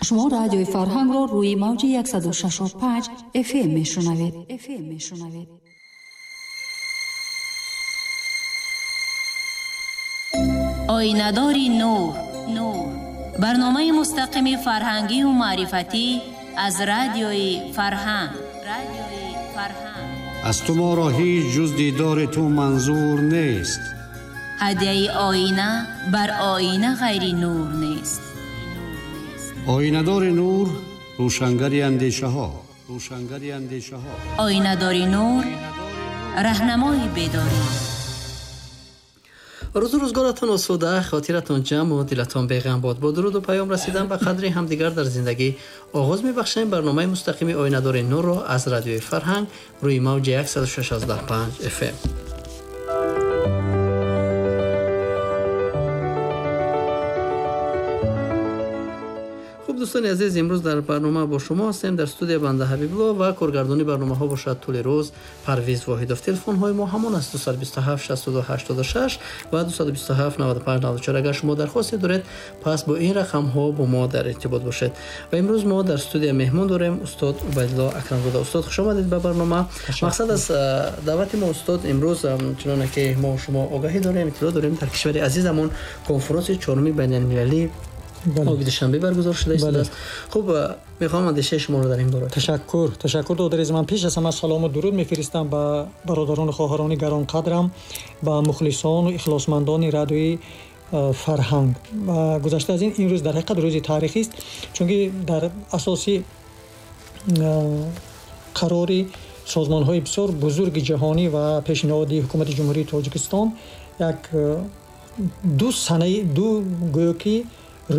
Шумо радиои Фарҳангро рӯи мавҷи 106.5 FM мешунавед. Оинадори нур, барномаи мустақими фарҳангию маърифатӣ аз радиои Фарҳанг. Аз ту моро ҳеҷ ҷуз дидори ту манзур нест. Ҳадияи оина бар оина ғайри нур нест. Оинадори нур, рӯшангари андешаҳо. Оинадори нур, раҳнамои бедорӣ. Рӯзу рӯзгоратон осуда, хотиратон ҷамъ ва дилатон беғам бод. Бо дуруду паём расидан ба қадри ҳамдигар дар зиндагӣ оғоз мебахшем барномаи мустақими Оинадори нурро аз радиои Фарҳанг рӯи мавҷи 106.5 FM. Дӯстони азиз, имрӯз дар барнома бо шумо ҳастем. Дар студия банда Ҳабибулло ва коргардони барномаҳо бошад тӯли рӯз Парвиз Воҳидов. Телефонҳои мо ҳамон аст: 227 62 86 ва 227 95 94. Агар шумо дархосте доред, пас бо ин рақамҳо бо мо дар иртибот бошед. Ва имрӯз мо дар студия меҳмон дорем устод Убайдулло Акрамзода. Устод, хуш омадед ба барнома. Мақсад аз даъвати мо устод имрӯз, чуноне ки мо шумо огаҳӣ дорем, иттилоъ дорем, дар кишвари азизамон конференси чоруми байналмилалӣ оби Душанбе баргузор шуда истодааст. Хуб, мехоҳам андешаи шуморо дар ин бора. Ташаккур додариз. Ман пеш аз ҳама салому дуруд мефиристам ба бародарону хоҳарони гаронқадрам, ба мухлисону ихлосмандони радиои Фарҳанг. Ва гузашта аз ин, ин рӯз дар ҳақиқат рӯзи таърихист, чунки дар асоси қарори созмонҳои бисёр бузурги ҷаҳонӣ ва пешниҳоди ҳукумати Ҷумҳурии Тоҷикистон як ду санаи ду гӯё ки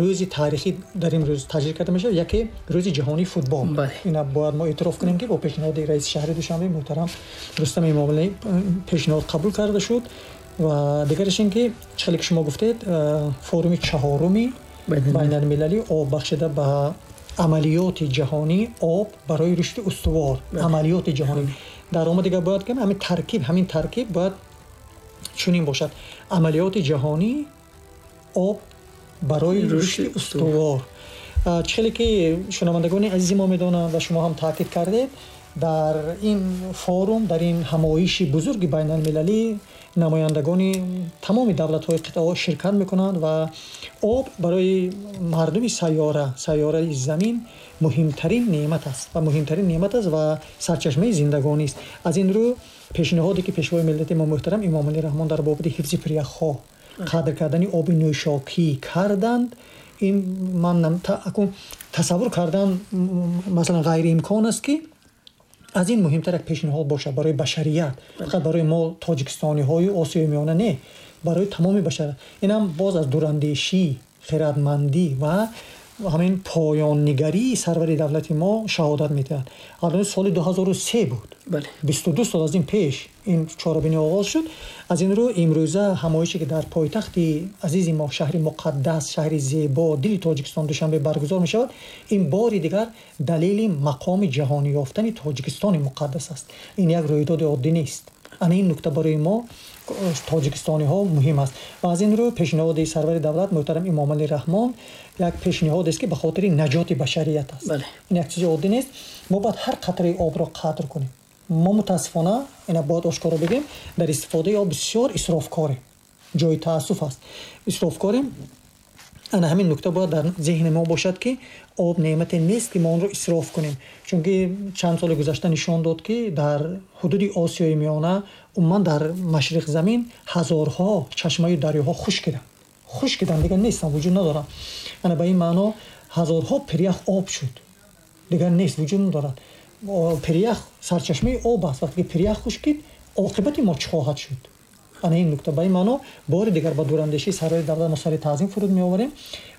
рӯзи таърихӣ дар ин рӯз таҷлил карда мешавад. Яке рӯзи ҷаҳонии футбол. Ина бояд мо эътироф кунем, ки бо пешниҳоди раиси шаҳри Душанбе муҳтарам Рустам Эмомалӣ пешниҳод қабул карда шуд. Ва дигараш ин ки чӣ хеле ки шумо гуфтед, форуми чаҳоруми байналмилалии об бахшида ба амалиёти ҷаҳонии об барои рушди устувор, амалиёти ҷаҳонӣ. Дар омад дигар бояд ки ҳамин таркиб бояд чунин бошад: амалиёти ҷаҳонии об барои рушди устувор. Чӣ хеле ки шунавандагони азизи мо медонанд ва шумо ҳам таъкид кардед, дар ин форум, дар ин ҳамоиши бузурги байналмилалӣ намояндагони тамоми давлатҳои қитъаҳо ширкат мекунанд ва об барои мардуми сайёраи замин муҳимтарин неъмат аст ва муҳимтарин неъмат аст ва сарчашмаи зиндагонист. Аз ин рӯ пешниҳоде ки пешвои миллати мо муҳтарам Эмомалӣ Раҳмон дар бобати ҳифзи пиряхҳо, қадр кардани оби нӯшокӣ карданд, ин ман тасаввур кардан масалан ғайриимкон аст ки аз ин муҳимтар як пешниҳод бошад барои башарият, фақат барои мо тоҷикистониҳою Осиёи Миёна не, барои тамоми башарият. Инам боз аз дурандешӣ, хирадмандӣ ва ҳамин поённигарии сарвари давлати мо шаҳодат медиҳад. Албатта соли 2003 буд, 22 сол аз ин пеш ин чорабинӣ оғоз шуд. Аз ин рӯ имрӯза ҳамоише ки дар пойтахти азизи мо, шаҳри муқаддас, шаҳри зебо, дили Тоҷикистон Душанбе баргузор мешавад, ин бори дигар далели мақоми ҷаҳонӣ ёфтани Тоҷикистони муқаддас аст. Ин як рӯйдоди оддӣ нест. Ана ин нукта барои мо тоҷикистониҳо муҳим аст. Ва аз ин рӯ пешниҳоди сарвари давлат муҳтарам Эмомалӣ Раҳмон як пешниҳод аст ки ба хотири наҷоти башарият аст. Ин як чизи оддӣ нест. Мо бояд ҳар қатраи обро қадр кунем. Мо мутаассифона, ина бояд ошкоро бигӯем, дар истифодаи об бисёр исрофкорем. Ҷои таассуф аст. Исрофкорем. Ана ҳамин нукта бояд дар зеҳни мо бошад, ки об неъмате нест ки мо онро исроф кунем. Чунки чанд соли гузашта нишон дод, ки дар ҳудуди Осиёи Миёна, умуман дар машриқ замин ҳазорҳо чашмаю дарёҳо хушкиданд, дигар нестанд, вуҷуд надоранд. Ана ба ин маъно ҳазорҳо пирях об шуд, дигар нест, вуҷуд надорад. Пирях сарчашмаи об аст. Вақте ки пирях хушкид, оқибати мо чӣ хоҳад шуд? Ана ин нукта. Ба ин маъно бори дигар ба дурандешии сарвари давлат мо сари таъзим фуруд меоварем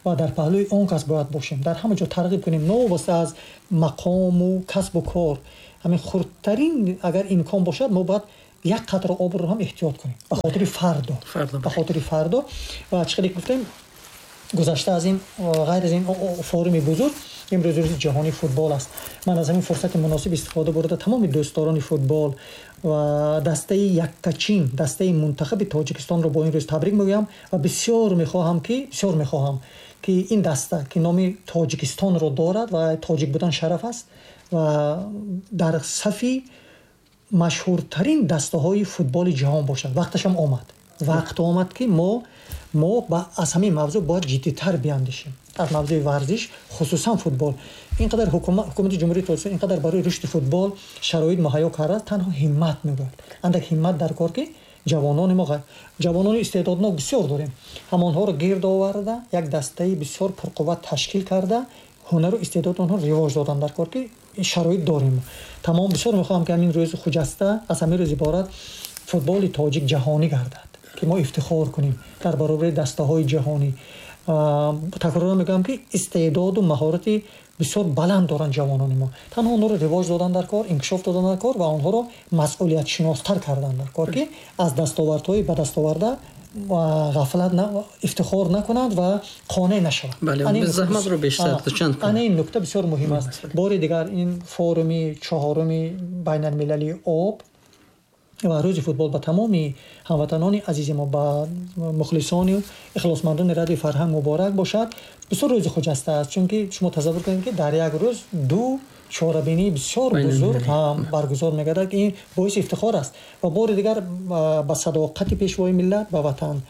ва дар паҳлӯи он кас бояд бошем, дар ҳама ҷо тарғиб кунем, новобаста аз мақому касбу кор. Ҳамин хурдтарин агар имкон бошад, мо бояд як қатра обро ҳам эҳтиёт кунем ба хотири фардо, ба хотири фардо. Ва чӣ хеле гуфтем, Гузашта аз ин, ғайр аз ин форуми бузург, имрӯз рӯзи ҷаҳонии футбол аст. Ман аз ҳамин фурсати муносиб истифода бурда тамоми дӯстдорони футбол ва дастаи яккачин, дастаи мунтахаби Тоҷикистонро бо ин рӯз табрик мегӯям ва бисёр мехоҳам ки ин даста, ки номи Тоҷикистонро дорад ва тоҷик будан шараф аст, ва дар сафи машҳуртарин дастаҳои футболи ҷаҳон бошад. Вақташам омад. Вақт омад, ки мо аз ҳамин мавзӯъ бояд ҷиддитар биандешем. Аз мавзӯи варзиш, хусусан футбол. Ин қадар ҳукумати Ҷумҳурии Тоҷикистон ин қадар барои рушди футбол шароит муҳайё кардааст, танҳо ҳиммат мебояд. Андак ҳиммат дар кор, ки ҷавонони мо, ҷавонони истеъдоднок бисёр дорем, ҳамонҳоро гирд оварда, як дастаи бисёр пурқувват ташкил карда, ҳунару истеъдоди онҳо ривоҷ додан дар кор, ки шароит дорем. Тамом, бисёр мехоҳам, ки ҳамин рӯзи хуҷаста, аз ҳамин рӯз иборат футболи тоҷик ҷаҳонӣ гардад, ки мо ифтихор кунем дар баробари дастаҳои ҷаҳонӣ. Такроран мегӯям, ки истеъдоду маҳорати бисёр баланд доранд ҷавонони мо. Танҳо онҳоро ривоҷ додан дар кор, инкишоф додан дар кор ва онҳоро масъулиятшиностар кардан дар кор, ки аз дастовардҳои ба даст оварда ғафлат ифтихор накунанд ва қонеъ нашаванд. Заҳматро бештар чанд кунанд. Ана ин нукта бисёр муҳим аст. Бори дигар ин форуми чаҳоруми байналмилалии об ва рӯзи футбол ба тамоми ҳамватанони азизи мо, ба мухлисони ихлосмандони радиои фарҳанг муборак бошад. Бисёр рӯзи хуҷаста аст, чунки шумо тасаввур кунед, ки дар як рӯз ду чорабинии бисёр бузург ҳам баргузор мегардад, ки ин боиси ифтихор аст. Ва бори дигар ба садоқати пешвои миллат, ба ватан,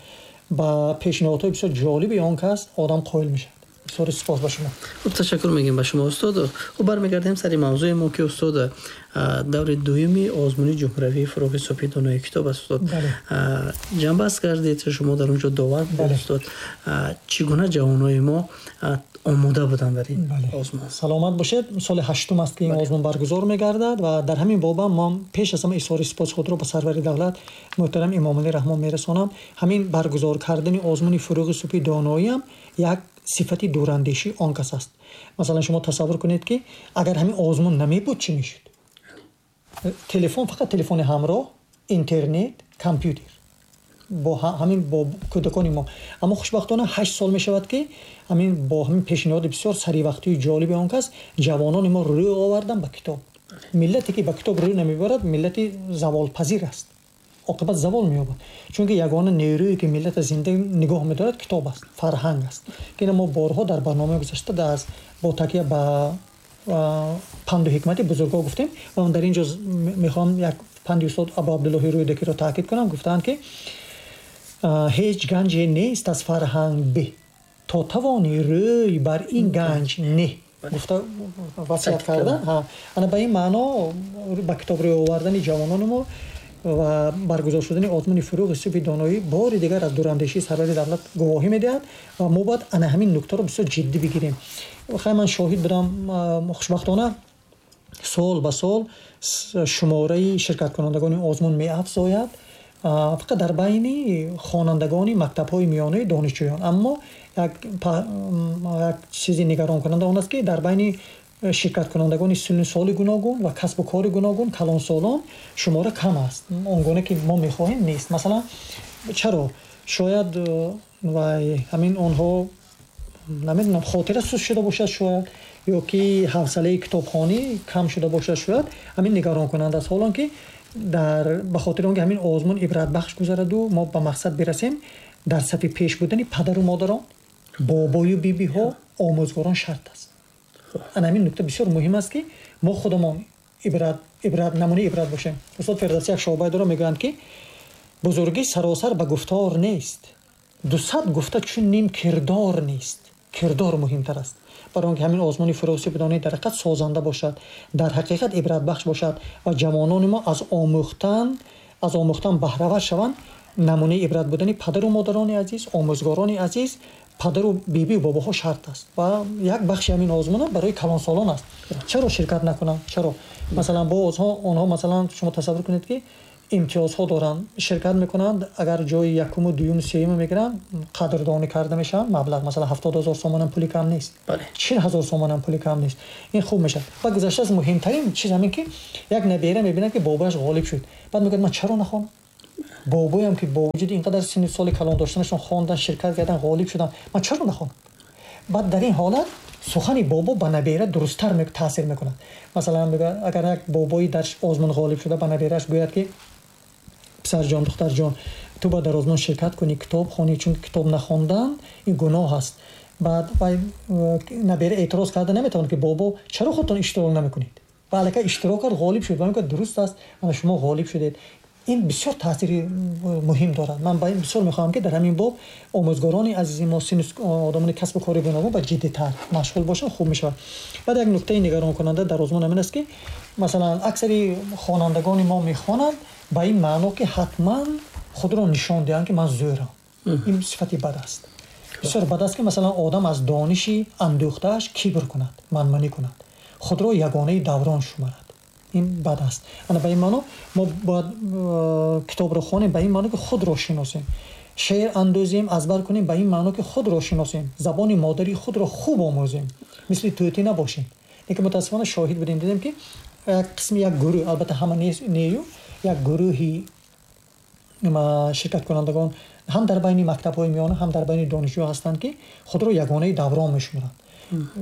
ба пешниҳодҳои бисёр ҷолиби он кас одам қоил мешавад. Бисёр сипос ба шумо. Хуб, ташаккур мегӯем ба шумо, устод. Хуб, бармегардем сари мавзӯи мо, ки устод, даври дуюми озмуни ҷумҳуриявии фурӯғи субҳи донои китоб аст, устод. Ҷанбаст кардед, шумо дар он ҷо довар будед, устод. Чӣ гуна ҷавонои мо омода буданд дар ин озмун? Саломат бошед. Соли ҳаштум аст, ки ин озмун баргузор мегардад ва дар ҳамин боба мо пеш аз ҳама изҳори сипоси худро ба сарвари давлат муҳтарам Эмомалӣ Раҳмон мерасонам. Ҳамин баргузор кардани озмуни фурӯғи субҳи доноиам як сифати дурандешии он кас аст. Масалан, шумо тасаввур кунед, ки агар ҳамин озмун намебуд, чӣ мешуд? Телефон, фақат телефони ҳамроҳ, интернет, компютер бо ҳамин бо кӯдакони мо. Аммо хушбахтона 8 сол мешавад, ки ҳамин бо ҳамин пешниҳоди бисёр саривақтию ҷолиби он кас ҷавонони мо рӯ овардан ба китоб. Миллате ки ба китоб рӯ намебарад, миллати заволпазир аст, оқибат завол меёбад. Чунки ягона нерӯе ки миллата зинда нигоҳ медорад, китоб аст, фарҳанг аст, ки ина мо борҳо дар барномаи гузашта бо такя ба панду ҳикмати бузургҳо гуфтем. Ва ман дар ин ҷо мехоҳам як панди устод Абу Абдуллоҳи Рӯдакиро таъкид кунам. Гуфтаанд, ки ҳеҷ ганҷе нест аз фарҳанг бе, то тавони рӯй бар ин ганҷ не. Гуфта васият карда. Ана ба ин маъно ба китоб рӯй овардани ҷавонони мо ва баргузор шудани озмуни фурӯғи субҳи доноӣ бори дигар аз дурандешии сарвари давлат гувоҳӣ медиҳад ва мо бояд ана ҳамин нуктаро бисёр ҷиддӣ бигирем. Хай, ман шоҳид будам, хушбахтона сол ба сол шумораи ширкаткунандагони озмун меафзояд, фақат дар байни хонандагони мактабҳои миёнаи донишҷӯён. Аммо як чизи нигаронкунанда он аст, ки дар байни ширкаткунандагони синну соли гуногун ва касбу кори гуногун, калонсолон шумора кам аст, он гуна ки мо мехоҳем нест. Масалан, чаро? Шояд вай ҳамин онҳо, намедонам, хотира суст шуда бошад, шояд, ё ки ҳавсалаи китобхонӣ кам шуда бошад, шояд. Ҳамин нигаронкунанда аст. Ҳолон ки ба хотири он ки ҳамин озмун ибратбахш гузараду мо ба мақсад бирасем, дар сафи пеш будани падару модарон, бобою бибиҳо, омӯзгорон шарт аст. Ана ҳамин нукта бисёр муҳим аст, ки мо худамон намунаи ибрат бошем. Устод Фирдавсӣ як шоҳбай дорад, мегӯянд, ки бузургӣ саросар ба гуфтор нест, 200 гуфта чун ним кирдор нест. Кирдор муҳимтар аст. Барои он ки ҳамин озмуни фурӯғи субҳи доноӣ дар ҳақиқат созанда бошад, дар ҳақиқат ибратбахш бошад ва ҷавонони мо аз омӯхтан баҳравар шаванд, намунаи ибрат будани падару модарони азиз, омӯзгорони азиз, падару бибию бобоҳо шарт аст. Ва як бахши ҳамин озмун барои калонсолон аст. Чаро ширкат накунанд? Чаро? Масалан, боз онҳо, масалан, шумо тасаввур кунед, ки имтиёзҳо доранд, ширкат мекунанд, агар ҷои якуму дуюму сеюму мегиранд, қадрдонӣ карда мешаванд. Маблағ масалан 70 000 сомонам пули кам нест, 40 000 сомонам пули кам нест. Ин хуб мешавад. Ва гузашта аз муҳимтарин чиз ҳамин, ки як набера мебинад, ки бобояш ғолиб шуд, баъд мегӯяд, ман чаро нахонам? Бобоям ки бо вуҷуди ин қадар синну соли калон доштанашон хондан, ширкат карданд, ғолиб шуданд, ман чаро нахонам? Баъд дар ин ҳолат сухани бобо ба набера дурусттар таъсир мекунад. Масалан, агар як бобои дар озмун ғолиб шуда ба набераш гӯяд, ки писарҷон, духтарҷон, ту бояд дар озмун ширкат кунӣ, китоб хонӣ, чунки китоб нахондан ин гуноҳ аст. Баъд набера эътироз карда наметавонад, ки бобо, чаро худтон иштирок намекунед? Ва аллакай иштирок кард, ғолиб шуд ва мегӯяд, дуруст аст, ана шумо ғолиб шудед. Ин бисёр таъсири муҳим дорад. Ман бисёр мехоҳам, ки дар ҳамин боб омӯзгорони азизи мо, сину одамони касбу кори гуногун ба ҷиддитар машғул бошанд, хуб мешавад. Баъд як нуктаи нигаронкунанда дар озмун ҳамин аст, ки масалан аксари хонандагони мо мехонанд ба ин маъно, ки ҳатман худро нишон диҳанд, ки ман зӯрам. Ин сифати бад аст, бисёр бад аст, ки масалан одам аз дониши андӯхтааш кибр кунад, манманӣ кунад, худро ягонаи даврон шумарад. Ин бад аст. Ана ба ин маъно мо бояд китобро хонем ба ин маъно, ки худро шиносем, шеър андӯзем, аз бар кунем ба ин маъно, ки худро шиносем, забони модарии худро хуб омӯзем, мисли тӯтӣ набошем. Лекин мутаассифона шоҳид будем, дидем, ки як қисми, як гурӯҳ, албатта ҳама нею, як гурӯҳи ширкаткунандагон ҳам дар байни мактабҳои миёна, ҳам дар байни донишҷӯ ҳастанд, ки худро ягонаи даврон мешуморанд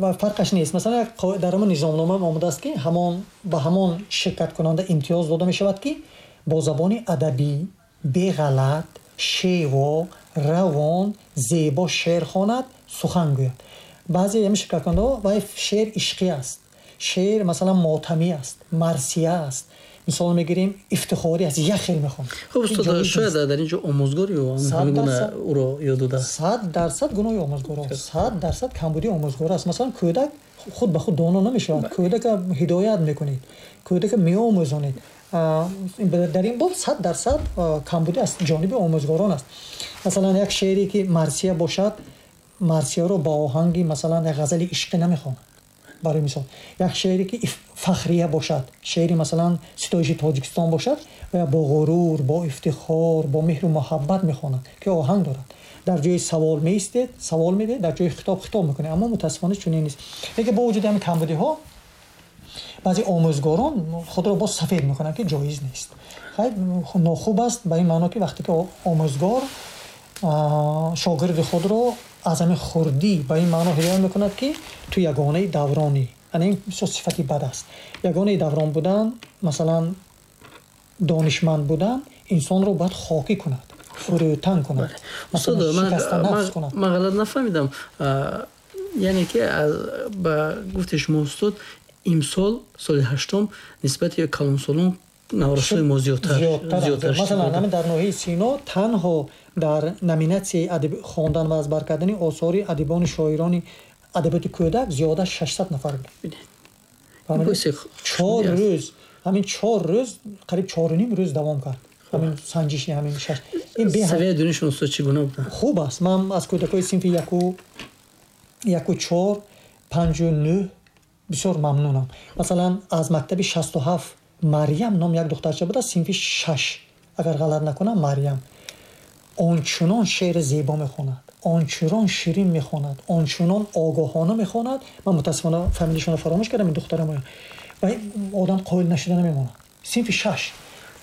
ва фарқаш нест. Масалан, дар ҳамон низомнома омадааст, ки ҳамон ба ҳамон ширкаткунанда имтиёз дода мешавад, ки бо забони адабӣ, беғалат, шево, равон, зебо шеър хонад, сухан гӯяд. Баъзе ҳамин ширкаткунандаҳо вай шеър ишқӣ аст, шеър масалан мотамӣ аст, марсия аст, мисол мегирем, ифтихорӣ аст, як хел мехонад. Хуб, устод, шояд дар ин ҷо омӯзгор ё ҳамин гуна ӯро ёд додааст. 100% гуноҳи омӯзгор аст, 100% камбудии омӯзгор аст. Масалан, кӯдак худ ба худ доно намешавад, кӯдака ҳидоят мекунед, кӯдака меомӯзонед. Дар ин боб 100% камбудӣ аз ҷониби омӯзгорон аст. Масалан, як шеъре ки марсия бошад, марсияро ба оҳанги масалан як ғазали ишқӣ намехонад. Барои мисол, як шеъре ки фахрия бошад, шеъри масалан ситоиши Тоҷикистон бошад, ва бо ғурур, бо ифтихор, бо меҳру муҳаббат мехонад, ки оҳанг дорад. Дар ҷои савол меистед, савол медиҳед, дар ҷои хитоб хитоб мекунед. Аммо мутаассифона чунин нест. Лекин бо вуҷуди ҳамин камбудиҳо баъзе омӯзгорон худро боз сафед мекунанд, ки ҷоиз нест. Хайр, нохуб аст ба ин маъно, ки вақте ки омӯзгор шогирди худро аз ҳамин хурдӣ ба ин маъно ҳидоят мекунад, ки ту ягонаи давронӣ. Ана ин бисёр сифати бад аст. Ягонаи даврон будан, масалан донишманд будан, инсонро бояд хокӣ кунад, фурӯтан кунад. Устод, ман ғалат нафаҳмидам, яъне ки ба гуфти шумо, устод, имсол соли ҳаштум нисбати калонсолон наврасои мо зиёдтар? Масалан, ҳамин дар ноҳияи Сино танҳо дар номинатсияи хондан ва аз бар кардани осори адибону шоирони адабиёти кӯдак зиёда 600 нафар буд. 4 рӯз, ҳамин 4 рӯз, қариб 4.5 рӯз давом кард ҳамин санҷиши ҳамин шаш. Савияи дониши устод чӣ гуна буда? Хуб аст. Ман аз кӯдакҳои синфи яку чор, панҷу нӯҳ бисёр мамнунам. Масалан, аз мактаби 67 Марьям ном як духтарча буда, синфи шаш, агар ғалат накунам, Марьям ончунон шеъри зебо мехонад, ончунон ширин мехонад, ончунон огоҳона мехонад. Ман мутаассифона фамилишонро фаромӯш кардам, ин духтарам, ва одам қоил нашуда намемонад. Синфи шаш.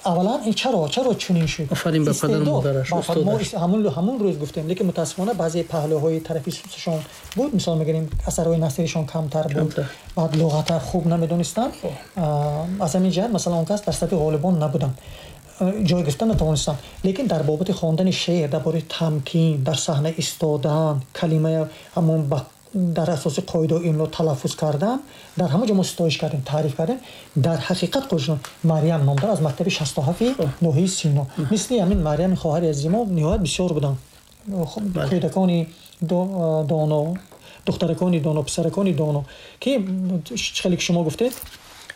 Аввалан, ин чаро чунин шуд? Офарин ба падару модараш. Ҳамун рӯз гуфтем, лекин мутаассифона баъзе паҳлӯҳои тарафи сусашон буд. Мисол мегирем, асарҳои насришон камтар буд, баъд луғата хуб намедонистанд. Аз ҳамин ҷиҳат, масалан, он кас дар сафи ғолибон набуданд, ҷой гирифта натавонистанд. Лекин дар бобати хондани шеър, дар бораи тамкин, дар саҳна истодан, калимаи ҳамон дар асоси қоидаи имло талаффуз кардан, дар ҳамон ҷо мо ситоиш кардем, таъриф кардем. Дар ҳақиқат қошон Марьям ном дорад, аз мактаби 67-и ноҳияи Сино. Мисли ҳамин Марьями хоҳари азизи мо ниҳоят бисёр буданд кӯдакони доно, духтаракони доно, писаракони доно, ки хеле ки шумо гуфтед.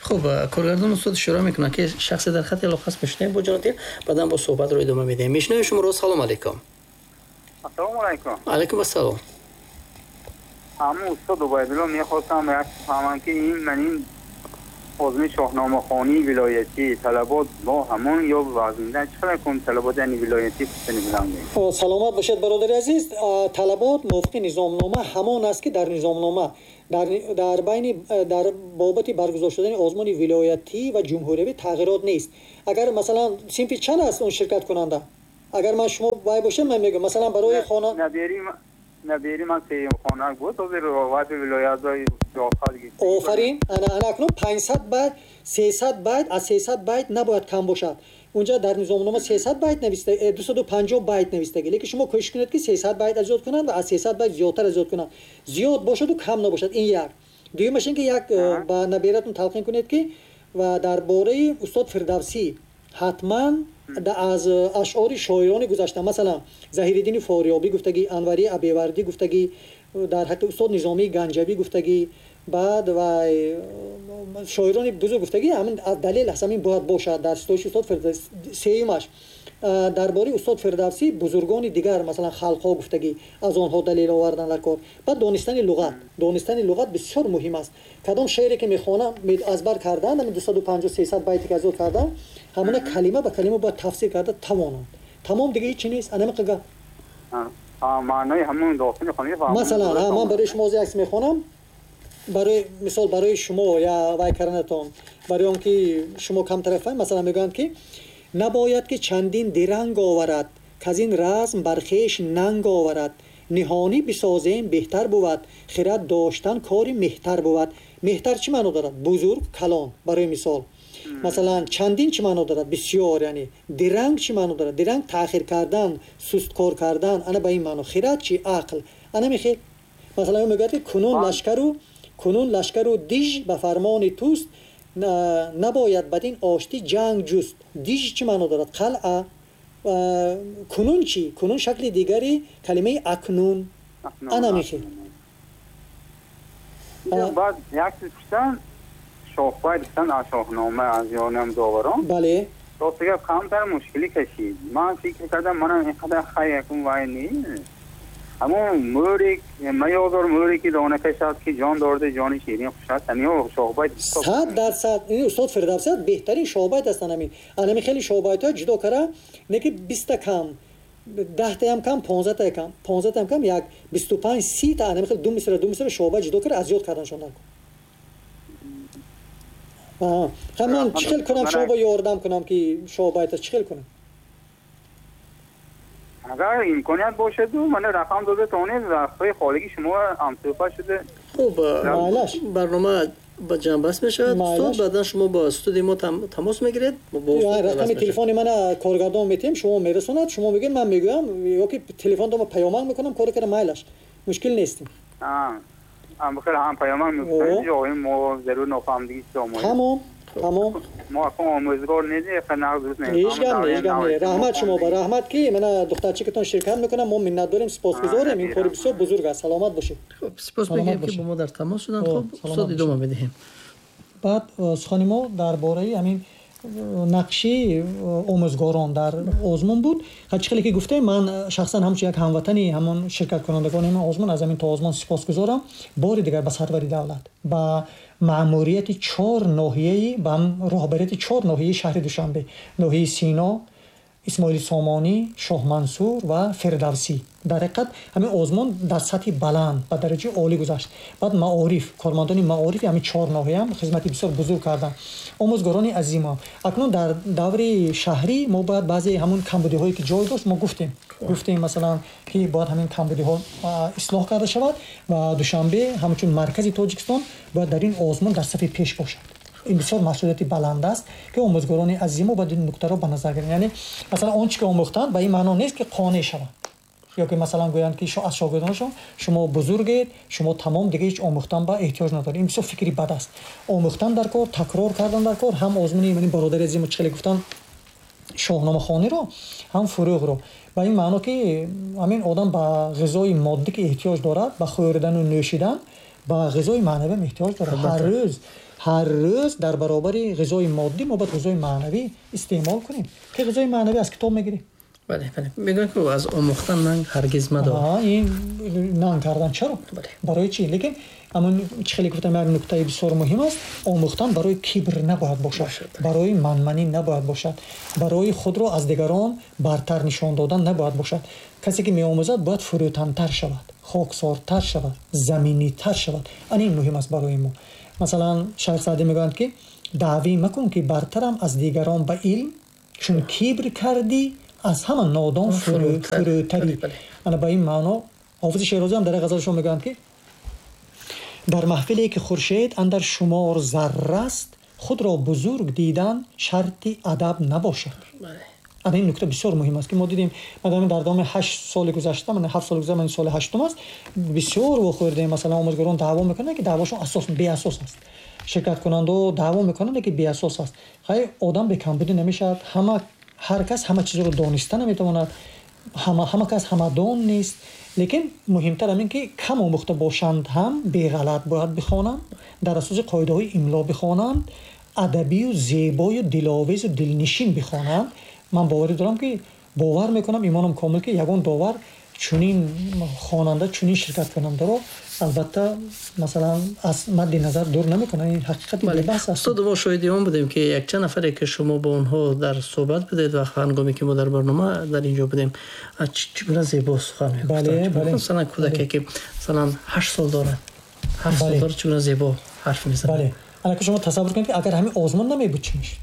Хуб, коргардон устод ишора мекунад, ки шахсе дар хати алоқа аст. Мешунавем бо ҷонотир, баъдан бо суҳбатро идома медиҳем. Мешунавем шуморо. Салом алейкум. Ассалому алайкум. Алайкум ассалом. Ҳамун устод Убайдулло, мехостам як фаҳмам, ки ин ман ин озмуни шоҳномахонии вилоятӣ талабот бо ҳамон ё вазнидан чӣ қадар кун талабот яъне вилоятӣ пурсидан. Саломат бошед бародари азиз. Талабот мувофиқи низомнома ҳамон аст ки дар низомнома дар байни дар бобати баргузор шудани озмуни вилоятӣ ва ҷумҳуриявӣ тағйирот нест. Агар масалан синфи чанд аст он ширкаткунанда? Агар ман шумо вай бошем ман мегӯям масалан барои хона набери ман сеюм хона буд, ҳозир вайби вилоятҳои. Офарин. Ана акнун 500 байт, 300 байт, аз 300 байт набояд кам бошад. Унҷа дар низомнома 300 байт нависта, 250 байт навистагӣ, лекин шумо кӯшиш кунед ки 300 байт аз ёд кунанд ва аз 300 байт зиёдтар аз ёд кунанд. Зиёд бошаду кам набошад. Ин як. Дуюмаш ин ки як ба набератон талқин кунед ки ва дар бораи устод Фирдавсӣ ҳатман аз ашъори шоирони гузашта, масалан Заҳириддини Форёбӣ гуфтагӣ, Анварии Абевардӣ гуфтагӣ, дар ҳаққи устод Низомии Ганҷавӣ гуфтагӣ, баъд ва шоирони бузург гуфтагӣ, ҳамин далел аст, ҳамин бояд бошад дар ситоиши устод Фирдавсӣ. Сеюмаш дар бораи устод Фирдавсӣ бузургони дигар, масалан халқҳо гуфтагӣ, аз онҳо далел овардан дар кор. Баъд донистани луғат. Донистани луғат бисёр муҳим аст. Кадом шеъре ки мехонам аз бар кардан, ҳамин 250-300 байте ки аз ёд кардам, ҳамона калима ба калима бояд тафсир карда тавонанд. Тамом, дига ҳеҷ чи нест. Ана ҳамин гап. Маънои ҳамон достони хонӣ фаҳмам. Масалан, ман барои шумо як мехонам. Барои мисол барои шумо я вай карданатон, барои он ки шумо камтар фаҳм, масалан мегӯянд ки набояд ки чандин диранг оварад, каз ин разм бар хеш нанг оварад, ниҳонӣ бисозем беҳтар бувад, хирад доштан кори меҳтар бувад. Меҳтар чӣ маъно дорад? Бузург, калон. Барои мисол масалан чандин чӣ маъно дорад? Бисёр, яъне диранг чӣ маъно дорад? Диранг таъхир кардан, сусткор кардан, ана ба ин маъно. Хирад чӣ? Ақл. Ана мехел. Масалан мегӯяд ки кунун лашкару диж ба фармони туст, набояд бад ин оштӣ ҷанг ҷуст. Диж чӣ маъно дорад? Қалъа. Кунун чӣ? Кунун шакли дигари калимаи акнун. Ана мехел. Баъд як чиз пурсам, шоҳбайт гуфтан аз шоҳнома аз ёнам доварон. Бале. Рост гап камтар мушкилӣ кашид. Ман фикр кардам манам инқадар хай якун вай не. Ҳамон мӯре маёзор мӯре ки дона кашад ки ҷон дорад ҷони ширин хуш аст. Ҳамин шоҳбайт 100% ин устод Фирдавсӣ беҳтарин шоҳбайт ҳастанд. Ҳамин. Ҳамин хеле шоҳбайтҳо ҷудо кара, не ки 20 та кам, 10 таям кам, 15 та кам, 15 таям кам, як 25 30 та ҳамин хеле ду мисра шоҳбайт ҷудо кара аз ёд карданшон дар. Ха ман чӣ хел кунам шумо бо ёрдам кунам ки шоҳбайт чӣ хел кунам? Агар имконият бошад, ман рақам дода тавонед, вақтҳои холигии шумо ҳамсӯҳбат шуда. Хуб, барнома ба ҷанбаст мешавад. Устод, баъдан шумо бо студияи мо тамос мегиред. Рақами телефони мана коргардон метиҳем, шумо мерасонад, шумо мегӯед, ман мегӯям, ё ки телефон дома паёмак мекунам, кори кара майлаш. Мушкил нестим. Бихел ҳам паёмак мекунем, ҷои мо зарур нофаҳмидагӣ чиз омода. Тамом. Тамом. Мо акун омӯзгор нестем, нағз дуруст намефаҳмем. Ҳеҷ гап не, ҳеҷ гап не. Раҳмат шумо ба раҳмат ки мана духтарчикатон ширкат мекунам, мо миннатдорем, сипосгузорем. Ин кори бисёр бузург аст. Саломат бошед. Хуб, сипос мегӯем ки бо мо дар тамос шуданд. Хуб, устод идома медиҳем. Баъд сухани мо дар бораи ҳамин нақши омӯзгорон дар озмун буд. Чӣ хеле ки гуфтем, ман шахсан ҳамчун як ҳамватани ҳамон ширкаткунандагони ҳамин озмун аз ҳамин то озмун сипосгузорам. Бори дигар ба сарвари давлат, ба маъмурияти чор ноҳияи, ба роҳбарияти чор ноҳияи шаҳри Душанбе, ноҳияи Сино, Исмоили Сомонӣ, Шоҳмансур ва Фирдавсӣ. Дар ҳақиқат ҳамин озмун дар сатҳи баланд ба дараҷаи олӣ гузашт. Баъд маориф, кормандони маорифи ҳамин чор ноҳияам хизмати бисёр бузург карданд. Омӯзгорони азимо. Акнун дар даври шаҳрӣ мо бояд баъзе ҳамун камбудиҳое ки ҷой дошт мо гуфтем. Гуфтем масалан ки бояд ҳамин камбудиҳо ислоҳ карда шавад ва Душанбе ҳамчун маркази Тоҷикистон бояд дар ин озмун дар сафи пеш бошад. Ин бисёр масъулияти баланд аст ки омӯзгорони азимо бояд ин нуктаро ба назар гиранд. Яъне масалан он чи ки омӯхтанд ба ин маъно нест ки қонеъ шаванд. Ё ки масалан гӯянд ки аз шогирдонашон шумо бузургед, шумо тамом дига ҳеҷ омӯхтан ба эҳтиёҷ надоред. Ин бисёр фикри бад аст. Омӯхтан дар кор, такрор кардан дар кор, ҳам озмуни ин бародари азимо чӣ хеле гуфтанд шоҳномахониро, ҳам фурӯғро. Ба ин маъно ки ҳамин одам ба ғизои моддӣ ки эҳтиёҷ дорад, ба хӯрдану нӯшидан, ба ғизои маънавӣ ҳам эҳтиёҷ дорад. Ҳар рӯз дар баробари ғизои моддӣ мо бояд ғизои маънавӣ истеъмол кунем, ки ғизои маънавӣ аз китоб мегирем. Бале, бале. Мегӯянд, ки аз омӯхтан нанг ҳаргиз мадор. Ин нанг кардан чаро? Барои чӣ? Лекин ҳамон чӣ хеле гуфтам, як нуктаи бисёр муҳим аст. Омӯхтан барои кибр набояд бошад, барои манманӣ набояд бошад, барои худро аз дигарон бартар нишон додан набояд бошад. Касе ки меомӯзад бояд фурӯтантар шавад, хоксортар шавад, заминитар шавад. Ана ин муҳим аст барои мо. Масалан, Шайх Саъдӣ мегӯянд, ки даъвӣ макун, ки бартарам аз дигарон ба илм, чун кибр кардӣ, аз ҳама нодон фурӯтарӣ. Ана ба ин маъно Ҳофизи Шерозӣ ҳам дар як ғазалашон мегӯянд, ки дар маҳфиле ки хуршед андар шумор зарра аст, худро бузург дидан шарти адаб набошад. Ана ин нукта бисёр муҳим аст, ки мо дидем, мадам дар давоми 8 соли гузашта, ман 7 соли гузашта, ман соли ҳаштум аст, бисёр вохӯрдем. Масалан, омӯзгорон даъво мекунанд, ки даъвошон асос беасос аст, ширкаткунандао даъво мекунанд, ки беасос аст. Хай, одам бекамбудӣ намешавад, ҳама ҳар кас ҳама чизро дониста наметавонад, ҳама кас ҳамадон нест. Лекин муҳимтар ҳамин, ки кам омӯхта бошанд ҳам, беғалат бояд бихонанд, дар асоси қоидаҳои имло бихонанд, адабию зебою диловезу дилнишин бихонанд. Ман боварӣ дорам, ки бовар мекунам, имонам комил, ки ягон довар чунин хонанда, чунин ширкаткунандаро албатта, масалан, аз мадди назар дур намекунад. Ин ҳақиқати бебаҳс аст. Устод, мо шоҳиди он будем, ки якчанд нафаре, ки шумо бо онҳо дар суҳбат будед ва ҳангоме ки мо дар барнома дар инҷо будем, чӣ гуна зебо сухан мегуфтанд. Масалан, кӯдаке, ки масалан 8 сол дорад, 7 сол дорад, чӣ гуна зебо ҳарф мезанад. Бале, алака шумо тасаввур кунед, ки агар ҳамин озмун намебуд, чӣ мешуд?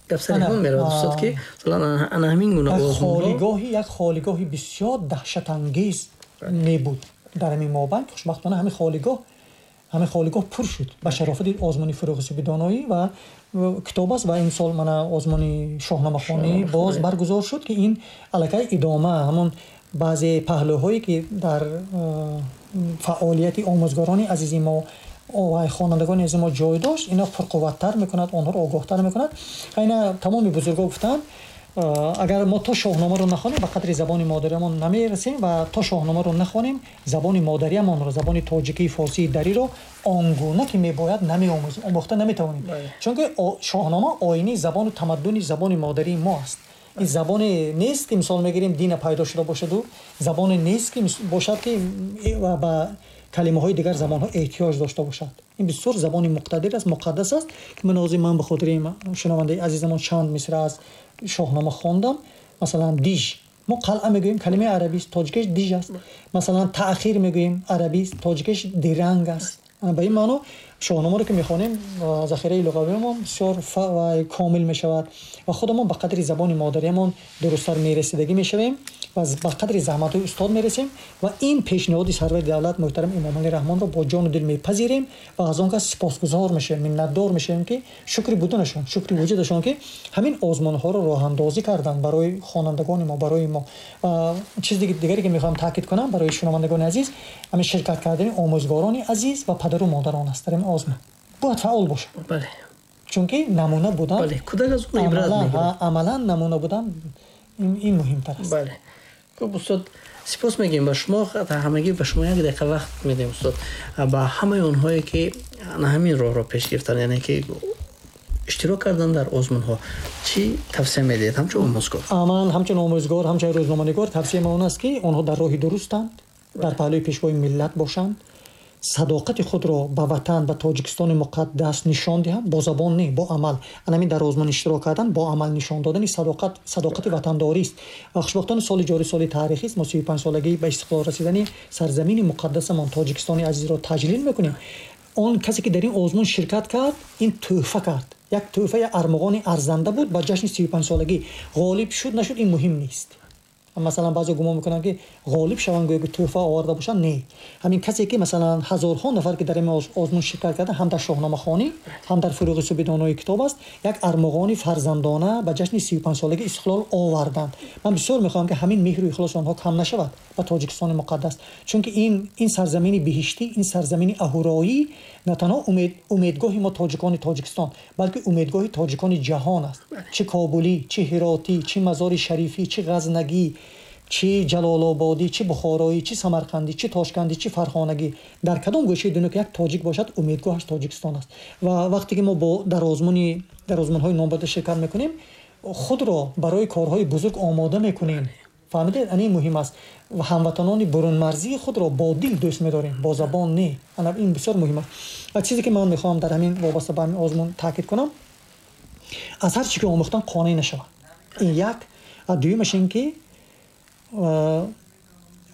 Гап сари ҳамон меравад, устод, ки масалан ана ҳамин гуна холигоҳи, як холигоҳи бисёр даҳшатангез мебуд дар ҳамин мобайн. Хушбахтона, ҳамин холигоҳ пур шуд ба шарофати озмуни Фурӯғи субҳи доноӣ ва китоб аст. Ва имсол мана озмуни шоҳномахонӣ боз баргузор шуд, ки ин аллакай идома ҳамон баъзе паҳлӯҳое, ки дар фаъолияти омӯзгорони азизи мо ва хонандагони азизи мо ҷой дошт, ино пурқувваттар мекунад, онҳоро огоҳтар мекунад. Ина тамоми бузургҳо гуфтанд, агар мо то шоҳномаро нахонем, ба қадри забони модариамон намерасем ва то шоҳномаро нахонем, забони модариамонро, забони тоҷикии, форсии, дариро он гуна ки мебояд намеомӯзем, омӯхта наметавонем, чунки шоҳнома оинаи забону тамаддуни забони модарии мо аст. Ин забоне нест, ки мисол мегирем, дина пайдо шуда бошаду, забоне нест, ки бошад, ки ба калимаҳои дигар забонҳо эҳтиёҷ дошта бошад. Ин бисёр забони муқтадир аст, муқаддас аст, ки ман ҳозир ман ба хотири шунавандаи азизамон чанд мисра аз шоҳнома хондам. Масалан, диж, мо қалъа мегӯем, калимаи арабист, тоҷикиш диж аст. Масалан, таъхир мегӯем, арабист, тоҷикиш диранг аст. Ба ин маъно шоҳномаро ки мехонем, захираи луғавиамон бисёр комил мешавад ва худамон ба қадри забони модариамон дурусттар мерасидагӣ мешавем ва ба қадри заҳматҳои устод мерасем. Ва ин пешниҳоди сарвари давлат муҳтарам Эмомалӣ Раҳмонро бо ҷону дил мепазирем ва аз он кас сипосгузор мешавем, миннатдор мешавем, ки шукри буданашон, шукри вуҷудашон, ки ҳамин озмунҳоро роҳандозӣ карданд барои хонандагони мо, барои мо. Ва чизи дигаре, ки мехоҳам таъкид кунам барои шунавандагони азиз, ҳамин ширкат кардани омӯзгорони азиз ва падару модарон аст. Дар ин озмун бояд фаъол бошад, чунки намуна будан, амалан намуна будан, ин муҳимтар аст. Бале, хуб, устод, сипос мегӯем ба шумо. Ҳамагӣ ба шумо як дақиқа вақт медиҳем, устод. Ба ҳамаи онҳое, ки на ҳамин роҳро пеш гирифтанд, яъне ки иштирок кардан дар озмунҳо, чӣ тавсия медиҳед ҳамчун омӯзгор? Ман ҳамчун омӯзгор, ҳамчун рӯзноманигор тавсияи ман он аст, ки онҳо дар роҳи дурустанд, дар паҳлӯи пешвои миллат бошанд, садоқати худро ба ватан, ба Тоҷикистони муқаддас нишон диҳанд, бо забон не, бо амал. Анамин дар озмун иштирок кардан бо амал нишон додани садоқат, садоқати ватандорист. Ва хушбахтона, соли ҷорӣ соли таърихист. Мо 35-солагии ба истиқлол расидани сарзамини муқаддасамон Тоҷикистони азизро таҷлил мекунем. Он касе, ки дар ин озмун ширкат кард, ин тӯҳфа кард, як тӯҳфа, як армуғони арзанда буд ба ҷашни 35-солагӣ. Ғолиб шуд, нашуд, ин муҳим нест. Масалан, баъзе гумон мекунанд, ки ғолиб шаванд, гӯё ки тӯҳфа оварда бошанд. Не, ҳамин касе, ки масалан ҳазорҳо нафар, ки дар ин озмун ширкат карданд, ҳам дар шоҳномахонӣ, ҳам дар Фурӯғи субҳи донои китоб аст, як армуғони фарзандона ба ҷашни 35-солагии истиқлол оварданд. Ман бисёр мехоҳам, ки ҳамин меҳру ихлоси онҳо кам нашавад ба Тоҷикистони муқаддас, чунки ин сарзамини биҳиштӣ, ин сарзамини аҳуроӣ на танҳо умедгоҳи мо, тоҷикони Тоҷикистон, балки умедгоҳи тоҷикони ҷаҳон аст. Чӣ кобулӣ, чӣ ҳиротӣ, чӣ Мазори Шарифӣ, чӣ ғазнагӣ, чӣ ҷалолободӣ, чӣ бухороӣ, чӣ самарқандӣ, чӣ тошкандӣ, чӣ фархонагӣ, дар кадом гӯшаи дунё ки як тоҷик бошад, умедгоҳаш Тоҷикистон аст. Ва вақте ки мо дар озмунҳои номбурда ширкат мекунем, худро барои корҳои бузург омода мекунем. Фаҳмидед? Ана ин муҳим аст. Ва ҳамватанони бурунмарзии худро бо дил дӯст медорем, бо забон не. Ана ин бисёр муҳим аст. Ва чизе ки ман мехоҳам дар ҳамин вобаста ба ҳамин озмун таъкид кунам, аз ҳар чӣ ки омӯхтан қонеъ нашавад. Ин як. Ва дуюмаш ин ки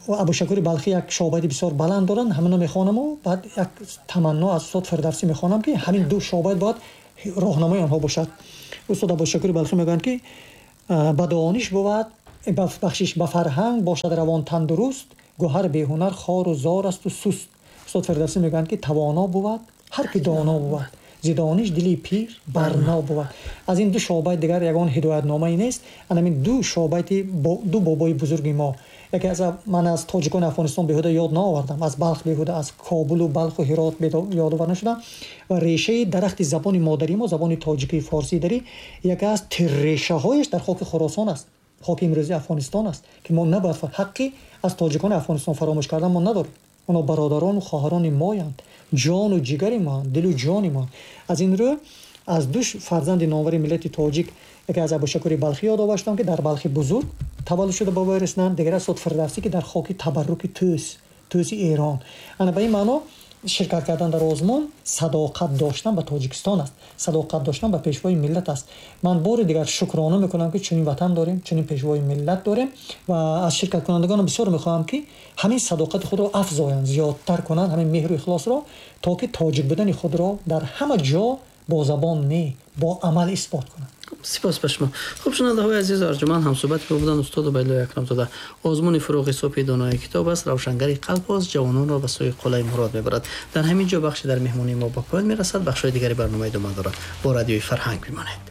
Абушакури Балхӣ як шобайти бисёр баланд доранд, ҳамино мехонаму баъд як таманно аз устод Фирдавсӣ мехонам, ки ҳамин ду шобайт бояд роҳнамои онҳо бошад. Устод Абушакури Балхӣ мегӯянд, ки ба дониш бувад, бахшиш, ба фарҳанг бошад равон тандуруст, гӯҳар беҳунар хору зор асту суст. Устод Фирдавсӣ мегӯянд, ки тавоно бувад ҳар ки доно бувад, зи дониш дили пир барно бувад. Аз ин ду шобайт дигар ягон ҳидоятномае нест. Ана ҳамин ду шобайти ду бобои бузурги мо. Яке аз ман аз тоҷикони Афғонистон беҳуда ёд наовардам, аз Балх беҳуда, аз Кобулу Балху Ҳирот ёд овар нашудам. Ва решаи дарахти забони модарии мо, забони тоҷикии форсии дарӣ, яке аз тиррешаҳояш дар хоки Хуросон аст, хоки имрӯзии Афғонистон аст, ки мо набояд ҳаққи аз тоҷикони Афғонистон фаромӯш кардан мо надорем. Онҳо бародарону хоҳарони моянд, ҷону ҷигари моанд, дилу ҷони моанд. Аз ин рӯ аз ду фарзанди номвари миллати тоҷик, яке аз Абушакури Балхӣ ёд оварштам, ки дар Балхи бузург таваллуд шуда бобои расиданд, дигар аз устод Фирдавсӣ, ки дар хоки табарруки Тӯс, Тӯси Эрон. Ана ба ин маъно ширкат кардан дар озмун садоқат доштан ба Тоҷикистон аст, садоқат доштан ба пешвои миллат аст. Ман бори дигар шукрона мекунам, ки чунин ватан дорем, чунин пешвои миллат дорем, ва аз ширкаткунандагонам бисёр мехоҳам, ки ҳамин садоқати худро афзоянд, зиёдтар кунанд ҳамин меҳру ихлосро, то ки тоҷик будани худро дар ҳама ҷо бо забон не, бо амал исбот кунанд. Сипос ба шумо. Хуб, шунавандаҳои азизу арҷуманд, ҳамсӯҳбати мо буданд устод Убайдуллои Акрамзода. Озмуни «Фурӯғи субҳи донои» китоб аст, равшангари қалб аст, ҷавононро ба сӯи қуллаи мурод мебарад. Дар ҳамин ҷо бахши «Дар меҳмонии мо» ба поён мерасад. Бахшҳои дигари барнома идома дорад. Бо Радиои Фарҳанг бимонед.